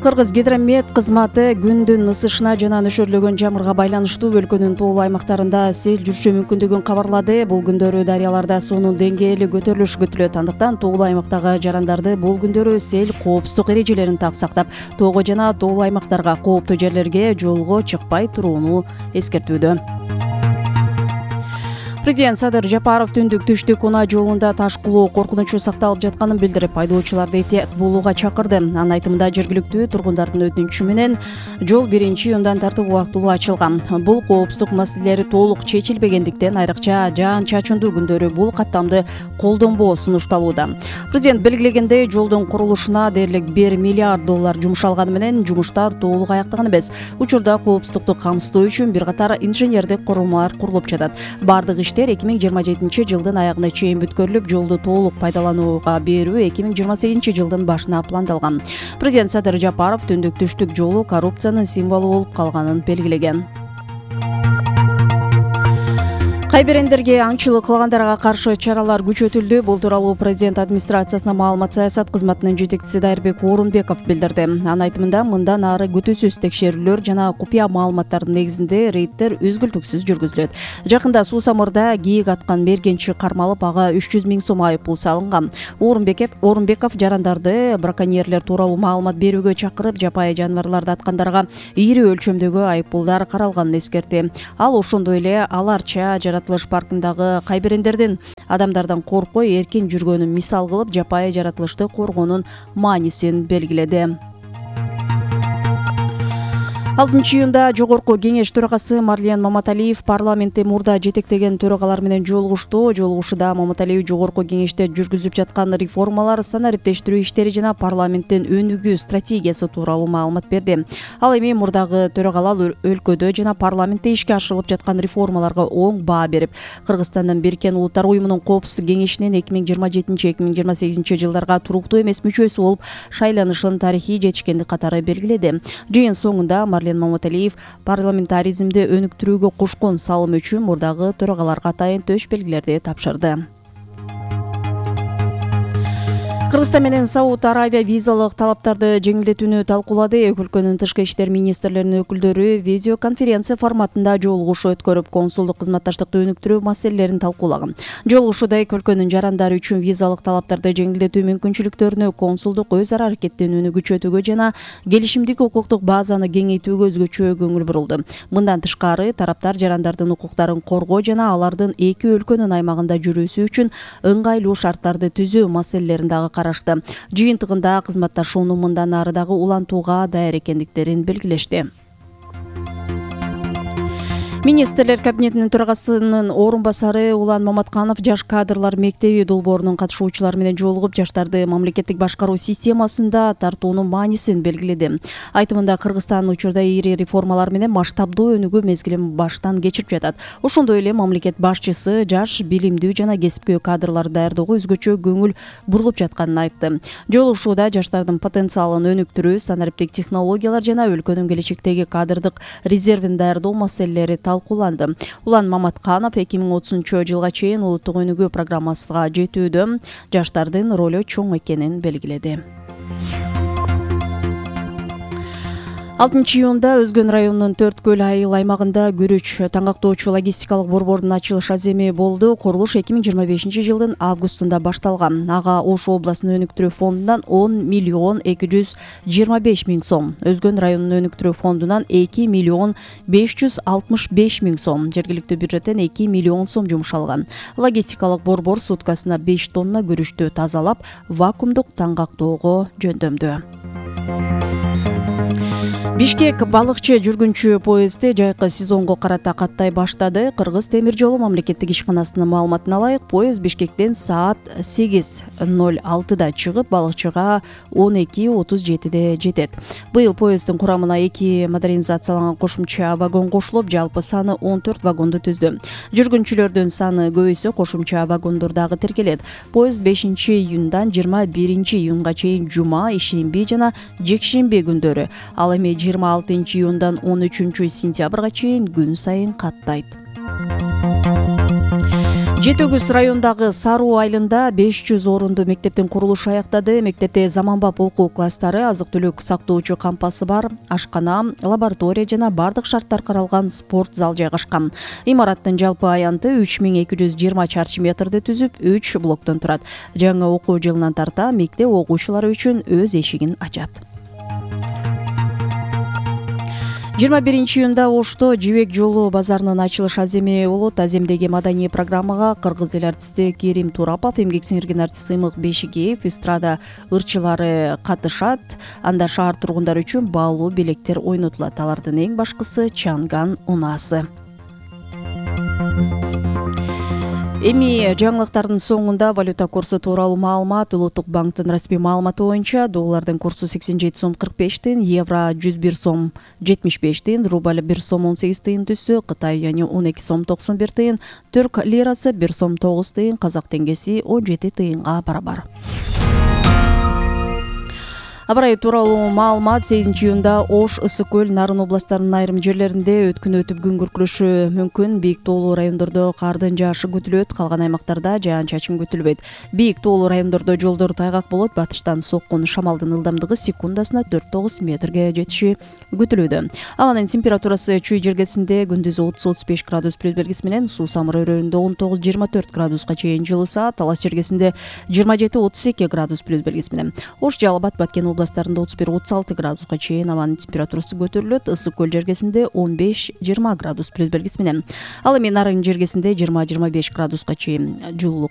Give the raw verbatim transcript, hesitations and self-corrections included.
Кыргыз гидромет кызматы күндүн ысышына жана нөшөрлөгөн жамырга байланыштуу өлкөнүн тоолуу аймактарында сел жүрүшү мүмкүндүгүн кабарлады. Бул күндөрү дарыяларда суунун деңгээли көтөрүлүшү күтүлөт. Андыктан тоолуу аймактагы жарандарды бул күндөрү сел коопсуздук эрежелерин так сактап, тоого жана тоолуу аймактарга, кооптуу жерлерге жолго чыкпай турууну эскертүүдө. Президент Садыр Жапаров түндүк түштүк унаа жолунда таш кулоо коркунучу сакталып жатканын билдирип, айдоочуларды этият болууга чакырды. Анын айтымында жергиликтүү тургундардын өтүнүчү менен жол биринчи июндан тартып убактылуу ачылган. Бул коопсуздук маселелери толук чечилбегендиктен, айрыкча жаан-чачындуу күндөрү бул каттамды колдонбоо сунушталууда. Президент белгилегендей, жолдун курулушуна дээрлик бир миллиард доллар жумшалганы менен жумуштар толук аяктаган эмес. Учурда коопсуздукту камсыздоо үчүн бир катар инженердик курулмалар курулуп жатат. Бардык эки миң жыйырма жетинчи жылдын аягына чейин бүткөрүлүп, жолду толук пайдаланууга берүү эки миң жыйырма сегизинчи жылдын башына пландалган. Президент Садыр Жапаров түндүк түштүк жолу коррупциянын символу болуп калганын белгилеген. Кайберендерге аңчылык кылгандарга каршы чаралар күчөтүлдү. Бул тууралуу президент администрациясына маалымат саясат кызматынын жетекчиси Дайырбек Орунбеков билдирди. Анын айтымында, мындан ары күтүүсүз текшерүүлөр жана купуя маалыматтардын негизинде рейдтер үзгүлтүксүз жүргүзүлөт. Жакында Суусамырда кийик аткан мергенчи кармалып, ага үч жүз миң сом айыппул салынган. Орунбеков Орунбеков жарандарды браконьерлер тууралуу маалымат берүүгө чакырып, жапайы жаныбарларды аткандарга ири өлчөмдөгү айыппулдар каралганын эскертти. Ал ошондой эле аларча жаратылыш паркындагы кайберендердин адамдардан коркпой эркин жүргөнүн мисал кылып, жапайы жаратылышты коргоонун маанисин белгиледи. алтынчы июнда Жогорку кеңеш төрагасы Марлен Маматалиев парламентте мурда жетектеген төрагалар менен жолугушту. Жолугушууда Маматалиев Жогорку кеңеште жүргүзүлүп жаткан реформалар, санариптештирүү иштери жана парламенттин өнүгүү стратегиясы тууралуу маалымат берди. Ал эми мурдагы төрагалар өлкөдө жана парламентте ишке ашырылып жаткан реформаларга оң баа берип, Кыргызстандын Бириккен Улуттар уюмунун коопсуздук кеңешинин эки миң жыйырма жетинчи эки миң жыйырма сегизинчи жылдарга туруктуу эмес мүчөсү болуп шайланышын тарыхый жетишкендик катары белгиледи. Жыйын соңунда Марлен Маматалиев парламентаризмди өнүктүрүүгө кошкон салымы үчүн мурдагы төрагаларга атайын төш белгилерди тапшырды. Кыргызстан менен Сауд Арабия визалык талаптарды жеңилдетүүнү талкуулады. Эки өлкөнүн тышкы иштер министрлеринин өкүлдөрү видеоконференция форматында жолугуш өткөрүп, консулдук кызматташтыкты өнүктүрүү маселелерин талкуулаган. Жолугушууда эки өлкөнүн жарандары үчүн визалык талаптарды жеңилдетүү мүмкүнчүлүктөрүнө, консулдук өз ара аракеттенүүнү күчөтүүгө жана келишимдик укуктук базаны кеңейтүүгө өзгөчө көңүл бурулду. Мындан тышкары, тараптар жарандардын укуктарын коргоо жана алардын эки өлкөнүн аймагында жүрүүсү үчүн ыңгайлуу шарттарды түзүү маселелерин дагы карашты. Жыйынтыгында кызматташууну мындан ары дагы улантууга даяр экендиктерин белгилешти. Министрлер кабинетинин төрагасынын орун басары Улан Маматканов Жаш кадрлар мектеби долбоорунун катышуучулары менен жолугуп, жаштарды мамлекеттик башкаруу системасында тартуунун маанисин белгиледи. Айтымында, Кыргызстан учурда ири реформалар менен масштабдуу өнүгүү мезгилин баштан кечирип жатат. Ошондой эле мамлекет башчысы жаш, билимдүү жана кесипкөй кадрларды даярдоого өзгөчө көңүл бурулуп жатканын айтты. Жолугушууда жаштардын потенциалын өнүктүрүү, санариптик технологиялар жана өлкөнүн келечектеги кадрдык резервин даярдоо маселелери талкууланды. Улан Маматканов эки миң отузунчу жылга чейин улуттук өнүгүү программасына жетүүдө жаштардын ролу чоң экенин белгиледи. алтынчы июнда Өзгөн районунун Төрт көл айыл аймагында күрүч таңактоочу логистикалык борбордун ачылыш аземи болду. Курулуш эки миң жыйырма бешинчи жылдын августунда башталган. Ага Ош областын өнүктүрүү фондунан он миллион эки жүз жыйырма беш миң сом, Өзгөн районунун өнүктүрүү фондунан эки миллион беш жүз алтымыш беш миң сом, жергиликтүү бюджеттен эки миллион сом жумшалган. Логистикалык борбор суткасына беш тонна күрүчтү тазалап, вакуумдук таңгактоого жөндөмдү. Бишкек балыкчы жүргүнчү поезди жайкы сезонго карата каттай баштады. Кыргыз темир жолу мамлекеттик ишканасынын маалыматына ылайык, поезд Бишкектен саат сегиз ноль алтыда чыгып, балыкчыга он эки отуз жетиде жетет. Быйыл поезддин курамына эки модернизацияланган кошумча вагон кошулуп, жалпы саны он төрт вагонду түздү. Жүргүнчүлөрдүн саны көбөйсө, кошумча вагондор дагы тиркелет. Поезд бешинчи июндан жыйырма биринчи июнга чейин жума, ишемби жана жекшемби күндөрү, ал эми жыйырма алтынчы июндан он үчүнчү сентябрга чейин күн сайын каттайт. жети өгүз районундагы Саруу айылында беш жүз орунду мектептин курулушу аяктады. Мектепте заманбап окуу класстары, азык-түлүк сактоочу кампасы бар, ашкана, лаборатория жана бардык шарттар каралган спорт зал жайгашкан. Имараттын жалпы аянты үч миң эки жүз жыйырма чарчы метрди түзүп, үч блоктон турат. Жаңы окуу жылынан тарта мектеп окуучулары үчүн өз эшигин ачат. жыйырма биринчи июнда Ошто Жибек жолу базарынын ачылыш аземи болот. Аземдеги маданий программага кыргыз эл артисти Керим Турапов, эмгек сиңирген артист Сыймык Бешикеев, эстрада ырчылары катышат. Анда шаар тургундары үчүн баалуу белектер ойнотулат. Алардын эң башкысы Чанган унаасы. Эми жаңылыктардын соңунда валюта курсу тууралуу маалымат. Улуттук банктын расмий маалыматы боюнча доллардын курсу сексен жети сом кырк беш тыйын, евро жүз бир сом жетимиш беш тыйын, рубль бир сом он сегиз тыйын түссө, Кытай юани он эки сом токсон бир тыйын, түрк лирасы бир сом тогуз тыйын, казак теңгеси он жети тыйынга барабар. Аба ырайы тууралуу маалымат. сегизинчи июнда Ош, Ысык көл, Нарын областтарынын айрым жерлеринде өткүн өтүп күн күркүрөшү мүмкүн. Бийик тоолуу райондордо кардын жаашы күтүлөт, калган аймактарда жаан-чачын күтүлбөйт. Бийик тоолуу райондордо жолдор тайгак болот. Батыштан соккон шамалдын ылдамдыгы секундасына төрт тогуз метрге жетиши күтүлүүдө. Абанын температурасы Чүй жергесинде күндүз отуз отуз беш градус плюс белгиси менен, Суу Самыр өрөөнүндө он тогуз жыйырма төрт градуска чейин жылыса, Талас жергесинде жыйырма жети отуз эки градус плюс белгиси менен. Ош, Жалал Абад, Баткен областарында отуз бир отуз алты градуска чейин абанын температурасы көтөрүлөт. Ысык көл жергесинде он беш жыйырма градус плюс белгиси менен. Ал эми Нарын жергесинде жыйырма жыйырма беш градуска чейин жылуулук